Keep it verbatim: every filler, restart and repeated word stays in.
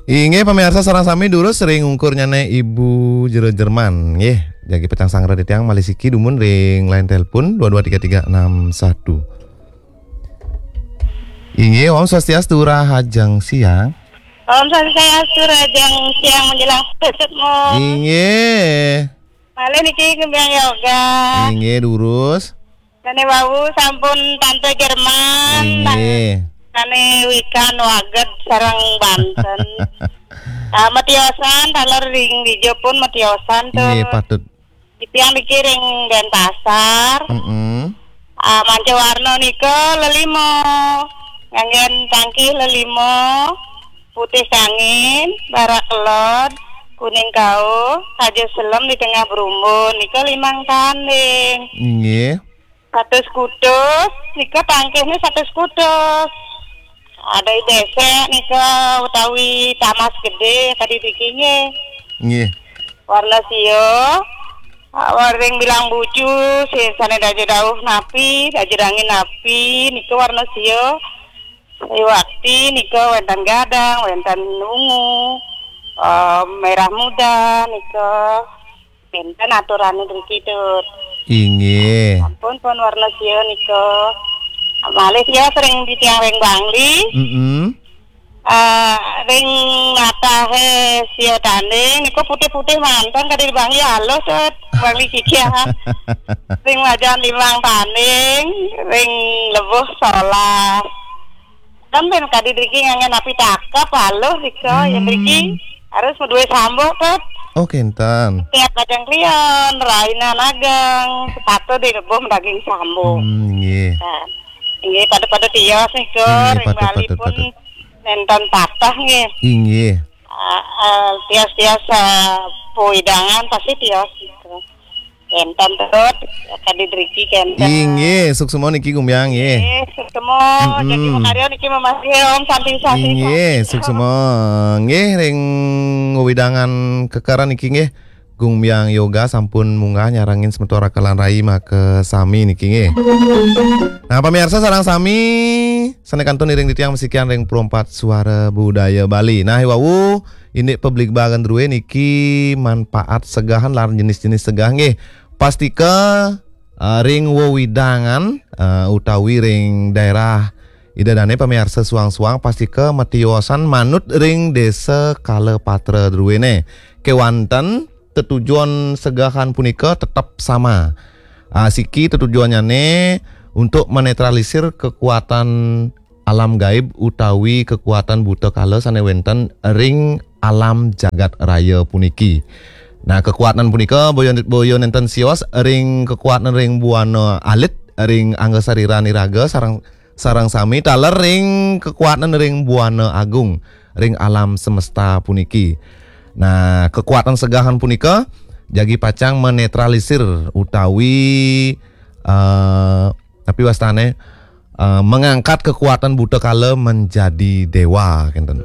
Inggih, pamirsa sareng sami, durus ring ungkurnyané Ibu Jero Jerman, nggih. Jagi pacang sangra titiang malih siki dumun ring line telepon dua dua tiga tiga enam satu. Inggih, Om Swastiastu, rahajeng siang. Om Swastiastu, rahajeng siang menjelang sore, Mo. Inggih. Malih niki Gumbyang Yoga. Inggih, durus. Sané wau sampun Tante Jerman. Inggih. Sané wikan waged sareng Banten. Ah, matiosan, taler ring dija pun matiosan tuh. Inggih, patut. Titiang niki ring Denpasar. Mm-mm. Ah, manca warna nika lelima. Nganggén tangkih lelima, putih kangin, barak kelod, kuning kauh, kaja selem di tengah berumbun. Nika limang tanding. Inggih. Satus kutus, nika tangkihnya satus kutus. Ada besek nika utawi tamas gedé tadi dikingé. Nggih. Warna sia, ah, ring bilang bucu, sing sané daja dauh napi, daja dangin napi, nika warna sia. Iwakti nika wénten gadang, wénten ungu, eh, merah muda nika. Bénten aturané driki, Tut. Inggih. Sampun pun warna sia nika. Malih sia sering titiang ring Bangli. Mm-mm. Eh, ring natahé sia tanding nika putih-putih manten kadi di Bangli alus, Tut. Bangli kikihan. Ring wajan limang tanding, ring lebuh solas. Kan ben kadi driki nganggén napi takep alus nika, ya driki harus madué sambuk, Tut. Oh, kénten. Tiap kadang klion, rainan ageng, sepatu di lebuh madaging sambuk. Hmm, nggih. Nah, inggih pada-pada tios nika, inggih, ring patut, Bali patut, pun patut. Nénten patah nggih. Inggih. Ah, ah, tios-tios, ah, pawidangan pasti tios nika. Kénten, Tut, kadi driki kénten. Inggih, suksma niki Gumbyang nggih. Nggih, suksma. Mm-mm. Jagi makarya niki mamah nggih, Om, santi-santi. Inggih, santi, suksma. Nggih, ring wewidangan kekeran niki nggih. Gumbyang Yoga sampun munggah nyarengin semeton raka lan rai makasami niki nggih. Nah, pamirsa sareng sami, sané kantun iring titiang masikian ring Pro Empat Suara Budaya Bali. Nah, iwau indik pabligbagan drué niki manfaat segahan lan jenis-jenis segah nggih. Pastika, eh, ring wewidangan, eh, utawi ring daerah Ida dané pamirsa suang-suang pastika matiosan manut ring désa kala patra druéné. Kéwanten tetujon segahan punika tetep sama. Ah, siki tetujonnyane untuk menetralisir kekuatan alam gaib utawi kekuatan buta kala sane wenten ring alam jagat raya puniki. Nah, kekuatan punika boya, boya nenten sios ring kekuatan ring buana alit, ring angga sariran iraga sareng, sareng sami taler ring kekuatan ring buana agung, ring alam semesta puniki. Nah, kekuatan segahan punika jagi pacang menetralisir utawi, eh, tapi wastane, eh, mengangkat kekuatan buta kala menjadi dewa, kenten.